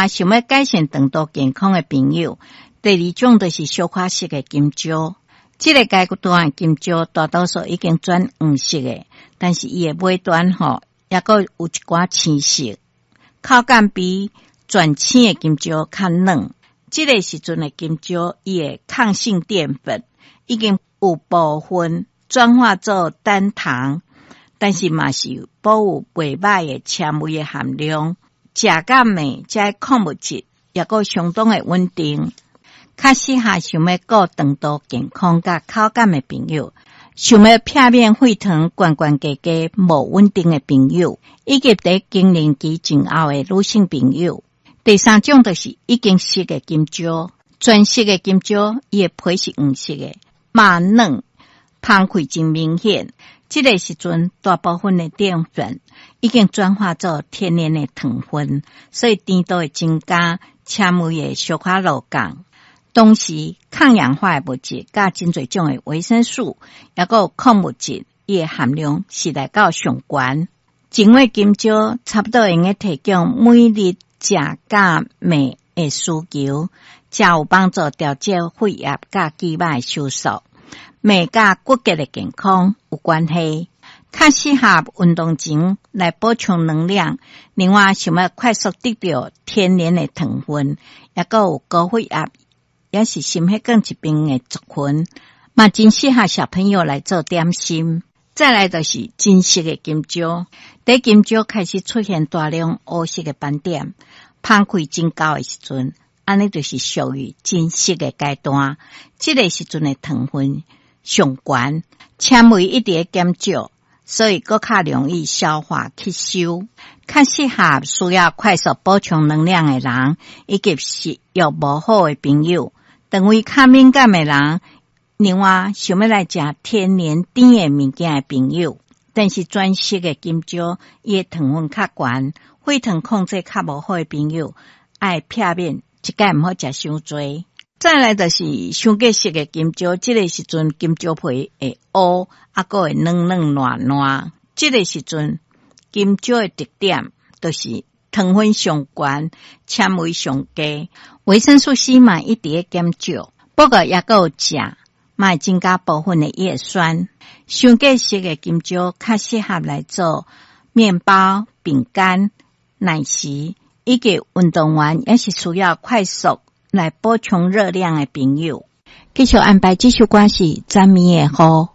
想欲改善腸道健康的朋友，第二種就是小可熟的金蕉。這个階段的金蕉大多數已經轉黃色的，但是伊的尾端吼，猶閣有一寡青色，口感比全青的金蕉較軟。這个時陣的金蕉，伊的抗性澱粉已經有部分轉化做單糖，但是嘛是保有袂䆀的纖維的含量。食甲麵，這礦物質猶閣相當的穩定，較適合想欲顧腸道健康佮口感的朋友，想欲避免血糖懸懸低低無穩定的朋友，以及佇更年期前後的女性朋友。第三種就是已經熟的金蕉，全熟的金蕉，伊的皮是黃色的，肉軟，芳氣真明顯。這个時陣，大部分的澱粉已經轉化做天然的糖分，所以甜度會增加，纖維會小可落降。同時，抗氧化的物質佮真濟種的維生素，猶閣有礦物質，伊的含量是來到上懸。一尾金蕉差不多會用得提供每日食佮麵的需求，誠有幫助調節血壓佮肌肉的收縮。脈佮骨骼的健康有關係，較適合運動前來補充能量。另外，想欲快速得著天然的糖分，猶閣有高血壓，抑是心血管疾病的族群，嘛真適合小朋友來做點心。再來就是真熟的金蕉，佇金蕉開始出現大量烏色的斑點，芳氣真厚的時陣，按呢就是屬於真熟的階段。這个時陣的糖分上懸，纖維一直咧減少，所以閣較容易消化吸收，較適合需要快速補充能量的人，以及食欲無好的朋友，腸胃較敏感的人。另外，想欲來食天然甜的物件的朋友，但是全熟的金蕉，伊的糖分較懸，血糖控制較無好的朋友，愛避免一概毋好食傷濟。再來就是傷過熟的金蕉，這个時陣金蕉皮會烏，猶閣會軟軟爛爛。這个時陣金蕉的特點就是糖分上懸，纖維上低，維生素 C 嘛一直咧減少。不過猶閣有食，嘛會增加部分的葉酸。傷過熟的金蕉較適合來做麵包、餅乾、奶昔，以及運動員抑是需要快速來補充熱量的朋友。繼續安排這首歌是昨暝的雨。